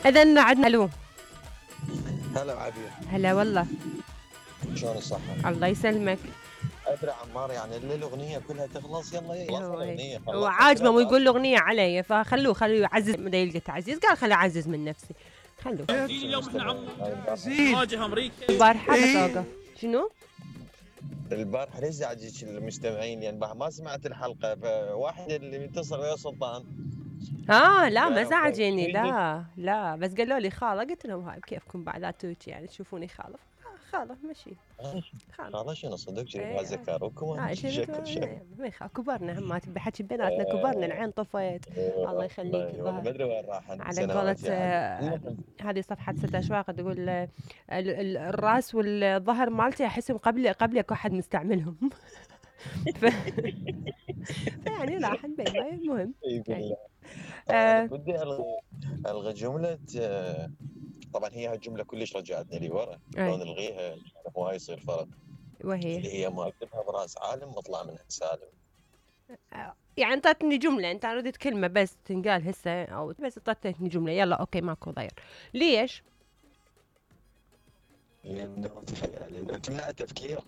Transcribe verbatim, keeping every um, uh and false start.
اذا عندنا الو. هلا عبير. هلا والله. شلون الصحة؟ الله يسلمك. ادري عمار يعني اللي الاغنية كلها تخلص يلا يلا هو هيك الاغنية هو خلصنا عاجبه كلها مو يقول طاش. له اغنيه علي، فخلوه خلوه يعزز، بدا يلقى تعزيز قال خليني اعزز من نفسي. خلوه اليوم احنا عم عزيز نواجه امريكا. البارحه بس اوقف. شنو؟ البارحة ليش زعجك المستمعين يعني ما سمعت الحلقة، فواحد اللي متصل ويا سلطان اه لا ما قالوا زعجني، تريدك لا لا، بس قالوا لي خاله، قلت لهم هاي بكيفكم بعد لا توجي يعني تشوفوني خاله. آه خاله مشي. خاله خلاص شنو صدق جرب اي هذا ذكركم اه شفت شكل شكل. ما يخاف، كبرنا هم بحكي بيناتنا كبرنا، العين طفيت. الله يخليك والله الظهر. ما ادري وين راحت على قولة سنواتي عاد. آه، هذه صفحة ست أشواق تقول آه، ال- ال- الراس والظهر مالتي أحسهم قبل قبلك واحد مستعملهم. ف... فيعني راح نبين المهم يعني. طبعا انا آه بدي الغي الغي جمله. آه، طبعا هي هالجمله كلش رجعتني لي ورا، لو أي نلغيها مو هاي يصير فرق. وهي اللي هي ما اكتبها براس عالم واطلع منها سالم. آه يعني انت اعطتني جملة، انت ردت كلمة بس تنقال هسه او بس اعطيتني جملة، يلا اوكي ماكو ضير. ليش؟ لانه لانه تمنع التفكير.